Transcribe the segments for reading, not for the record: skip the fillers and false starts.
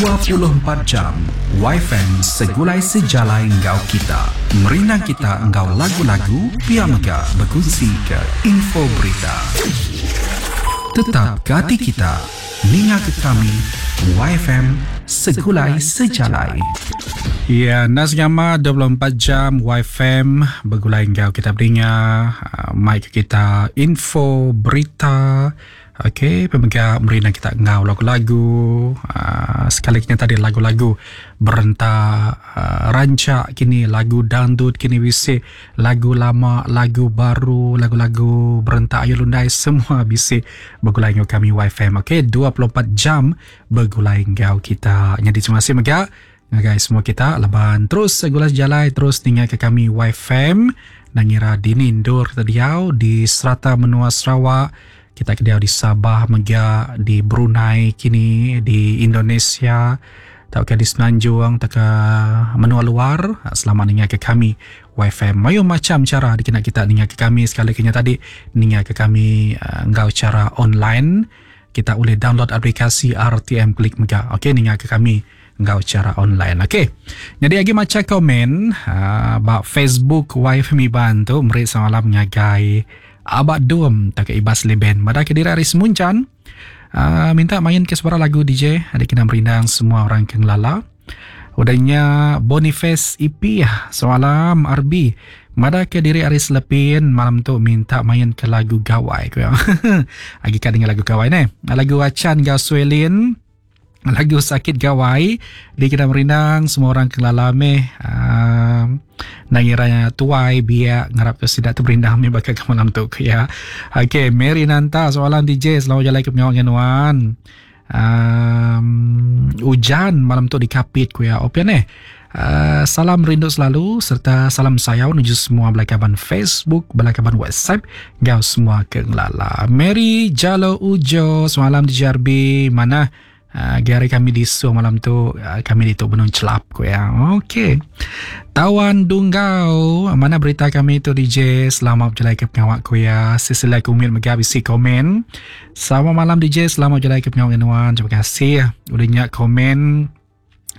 24 jam Wifi segulai sejalai enggau kita. Merindang kita enggau lagu-lagu pia mega bekunsi ke info berita. Tetap ke ati kita ninga ke kami YFM Segulai Sejalai. Ya, enda sengama 24 jam YFM begulai enggau kita beringa mai ke kita info berita Ok pemega merina kita enggau lagu-lagu uh, sekali kena tadi lagu-lagu berenta uh, rancak kini lagu dangdut kini bisi lagu lama lagu baru lagu-lagu berenta ayu lundai semua bisi begulai enggau kami YFM ok 24 jam begulai enggau kita nyadi terima kasih mega ngagai semua kita laban terus segulai sejalai terus ninga ke kami YFM ngira dini endur kita diau di serata menua Sarawak Kita ke diau di Sabah mega, di Brunei kini, di Indonesia tauka di Semenanjung tauka menua luar selama ninga ke kami YFM. Mayuh macham chara dikena kita ninga ke kami sekali ke nya tadi ninga ke kami enggau chara online. Kita ulih download aplikasi RTM Klik mega. Okey ninga ke kami enggau chara online. Okey. Nyadi agi macha komen uh, ba Facebook YFM Iban tu meri selamat malam ngagai Abak Dum tauka Ibas Leben madah ke diri ari Semunjan. Uh, minta main ke sebarang lagu DJ ada kena merindang semua orang ke ngelala. Udah nya Boniface EP semalam RB madah ke diri ari Selepin malam tu minta main ke lagu Gawai ku ya. Agi ka dengar lagu Gawai neh. Lagu Achan enggau Suelin lagu Sakit Gawai dikena merindang semua orang ke ngelala meh uh, nang ngira tuai biak ngarap ke sida tu merindang meh baka ke malam tu ke ya. Okey, Mary Nanta soalan DJ selamat jalai ke pengawa dengan nuan. Um, ujan malam tu di Kapit ku ya. Opian eh. Uh, salam rindu selalu serta salam sayau nuju semua bala kaban Facebook, bala kaban WhatsApp enggau semua ke ngelala. Mary Jalo Ujo semalam di JRB mana uh, gari kami di Suang malam tu uh, kami ditu benung celap ku ya. Okey. Tawan Dunggau mana berita kami tu DJ selamat berjalai ke pengawak ku ya. Sisilah kumil mega bisi komen. Selamat malam DJ selamat berjalai ke pengawak nuan. Terima kasih udah nyak komen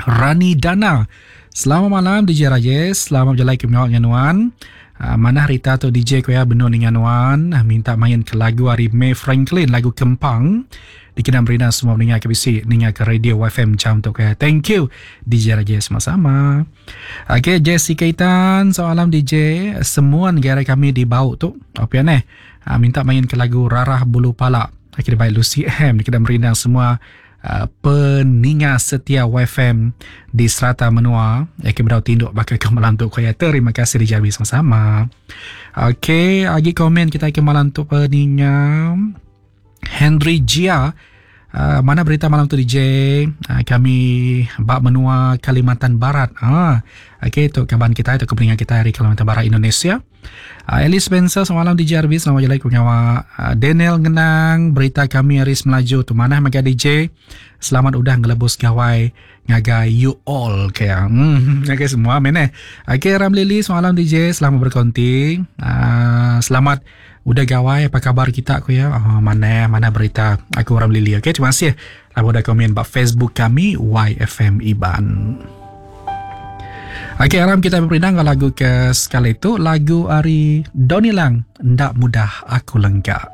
Rani Dana. Selamat malam DJ Rajesh. Selamat berjalai ke pengawak dengan nuan. Uh, mana Rita tu DJ ko ya benung dengan nuan. Uh, minta main ke lagu hari May Franklin lagu Kempang. Dikena merina semua mendengar ke bisi ninga ke radio YFM jam tu ke. Thank you DJ Rajesh sama-sama. Okay Jessica Itan soalan DJ semua negara kami di Bau tu. Apa ya neh? Uh, minta main ke lagu Rarah Bulu Pala. Akhirnya baik Lucy M dikena merindang semua Uh, peninga setia YFM di serata menua ya ke bedau tinduk baka ke malam tu kaya terima kasih dijabi sama-sama. Okey, agi komen kita ke malam tu peninga Henry Jia uh, mana berita malam tu DJ uh, kami bak menua Kalimantan Barat. Ah, okey tu kaban kita tu peninga kita dari Kalimantan Barat Indonesia. Uh, Alice Spencer semalam di JRB selamat jalan pengawa uh, Daniel Ngenang berita kami hari Melaju tu manah mega DJ selamat udah ngelebus gawai ngagai you all ke hmm ngagai semua men eh okey Ram Lily semalam DJ selamat berkonti uh, selamat udah gawai apa kabar kita ku ya oh, mana mana berita aku Ram Lily okey terima kasih lalu udah komen ba Facebook kami YFM Iban. Okey, aram kita beperindang enggau lagu ke sekali tu, lagu ari Donny Lang, Enda Mudah Aku Lengka.